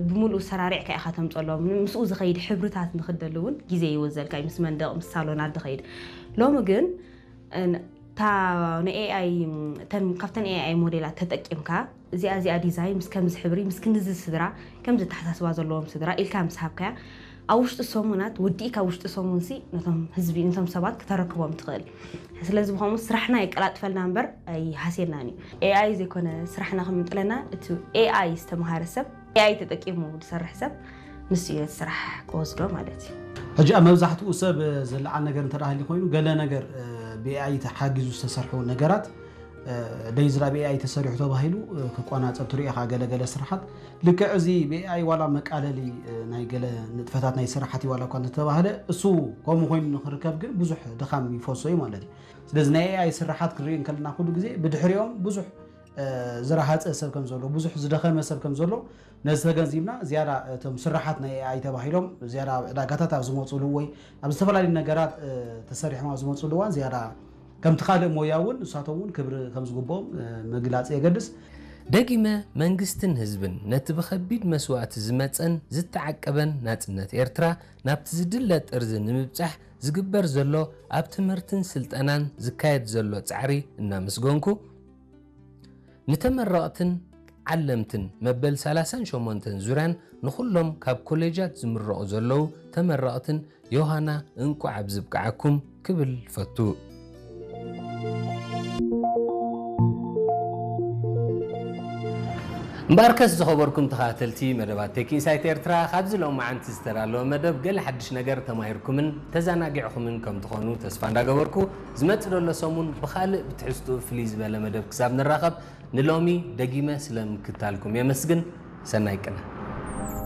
ብምሉእ ሰራሪዕካ ኢኻ ተምፀሎም። ምስኡ ዝኸይድ ሕብርታት ንክደሊ እውን ግዜ ይወዘልካ እዩ፣ ምስ መንደቕ ምስ ሳሎናት ዝኸይድ። ሎሚ ግን እን- እታ ንኤኣይ ካብተን ኤኣይ ሞዴላት ተጠቂምካ እዚኣ እዚኣ ዲዛይን ምስ ከምዚ ሕብሪ ምስ ክንዚ ስድራ ከምዚ ኣተሓሳስባ ዘለዎም ስድራ ኢልካ ምስ ሃብካያ ኣብ ውሽጢ ሰሙናት ወዲእካ ውሽጢ ሰሙን ሲ ነቶም ህዝቢ ነቶም ሰባት ክተረክቦም ትኽእል። ስለዚ ብኸምኡ ስራሕና የቀላጥፈልና እምበር ኣይሃስየናን እዩ። ኤኣይ ዘይኮነ ስራሕና ክምንጥለና እቲ ኤኣይ ዝተምሃረ ሰብ ኤኣይ ተጠቂሙ ዝሰርሕ ሰብ ንሱ እዩ ነቲ ስራሕ ክወስዶ ማለት እዩ። ሕጂ ኣብ መብዛሕትኡ ሰብ ዝለዓል ነገር እንተ ደኣ ሃልዩ ኮይኑ ገለ ነገር ብኤኣይ ተሓጊዙ ዝተሰርሑ ነገራት ደይዝራ ብኤኣይ ተሰሪሑ ተባሂሉ ክቆናፀብ ትሪኦ ኢኻ። ገለ ገለ ስራሓት ልክዕ እዚ ብኤኣይ ዋላ መቃለሊ ናይ ገለ ንጥፈታት ናይ ስራሓት ዋላ እኳ እንተተባህለ እሱ ከምኡ ኮይኑ ንክርከብ ግን ብዙሕ ድኻም ይፈሶ እዩ ማለት እዩ። ስለዚ ናይ ኤኣይ ስራሓት ክንርኢ እንከለና ኩሉ ግዜ ብድሕሪኦም ብዙሕ ዝረሃፀ ሰብ ከም ዘሎ ብዙሕ ዝደኸመ ሰብ ከም ዘሎ ነዚ ተገንዚብና ዝያዳ እቶም ስራሓት ናይ ኤኣይ ተባሂሎም ዝያዳ ኣብ ዕዳጋታት ኣብ ዝመፅሉ ወይ ኣብ ዝተፈላለዩ ነገራት ተሰሪሖም ኣብ ዝመፅሉ እዋን ዝያዳ ከምቲ ካልእ ሞያ እውን ንሳቶም እውን ክብሪ ከም ዝግብኦም ምግላፅ የገድስ። ደጊመ መንግስትን ህዝብን ነቲ ብኸቢድ መስዋእቲ ዝመጸን ዝተዓቀበን ናጽነት ኤርትራ ናብቲ ዝድለ ጥርዚ ንምብጻሕ ዝግበር ዘሎ ኣብ ትምህርትን ስልጠናን ዝካየድ ዘሎ ጻዕሪ እናመስገንኩ፣ ንተመረቕትን ዓለምትን መበል ሰላሳን ሸሞንተን ዙርያን ንኹሎም ካብ ኮሌጃት ዝምረቑ ዘለዉ ተመረቕትን ዮሃና እንቋዕ ኣብዚ ብቅዓኩም ክብል ፈቱ። እምበኣርከስ ዝኸበርኩም ተኸታተልቲ መደባት ቴክ ኢንሳይት ኤርትራ፣ ካብዚ ሎማዓንቲ ዝተዳለወ መደብ ገለ ሓድሽ ነገር ተማሂርኩምን ተዘናጊዕኹምን ከም ትኾኑ ተስፋ እንዳገበርኩ፣ ዝመጽእ ዘሎ ሰሙን ብኻልእ ብትሕዝትኡ ፍልይ ዝበለ መደብ ክሳብ ንራኸብ፣ ንሎሚ ደጊመ ስለ ምክታልኩም የመስግን። ሰናይ ቅነ።